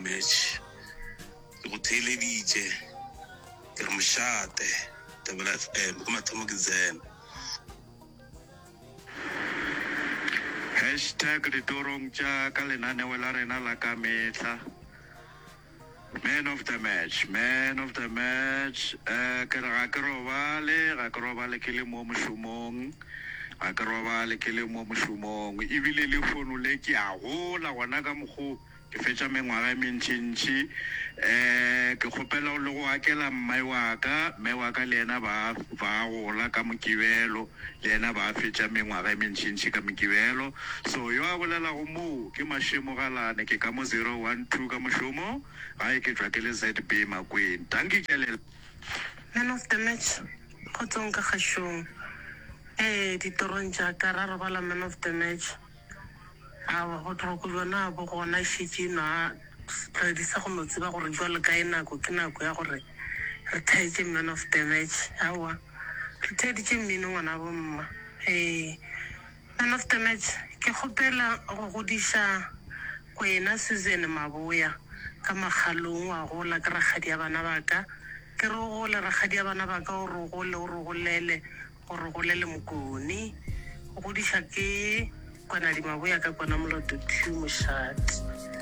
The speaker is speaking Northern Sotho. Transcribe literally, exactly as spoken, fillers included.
match. Ke go theeleditše, ke re mošate, Thobela F M, ke mathomo ke tsena. Hashtag ditorong tša ka lenaneo la rena la ka mehla. Man of the match, man of the match. Eh, ke re ga ke robale, ga ke robale ke le mo mošomong. Ga ke robale ke le mo mošomong. Ebile le fono le ke a gola gona ka mokgo ke fetša mengwaga e mentšintši. Eh, ke kgopela le go akela mme wa ka, mme wa ka le yena ba ba gola ka Mokibelo, le yena ba fetša mengwaga e mentšintši ka Mokibelo. So yo a bolelago moo ke Mašemo Galane, ke ka mo zero one two ka mošomo, gae ke tšwa ke le Z B Makweng. Dankie ke a le. Man of the match, kgotsong ka kgašong. Ee, ditorong tša ka ra robala man of the match. Aowa, botlhoko bjona bo gona e šetše e nwa setlwaedi sa go no tseba gore bjale kae nako ke nako ya gore re thaetše man of the match. Aowa, re theeditše mmino ngwanabo mma. Ee, man of the match, ke kgopela go godiša Kwena Susan Maboya ka Makgalong wa gola ke rakgadi ya bana ba ka. Ke re o gole rakgadi ya bana ba ka o re o gole o re golele o re golele Mokone. O godiša ke Kwanadi Maboya ka Kwana Moloto two Mošate.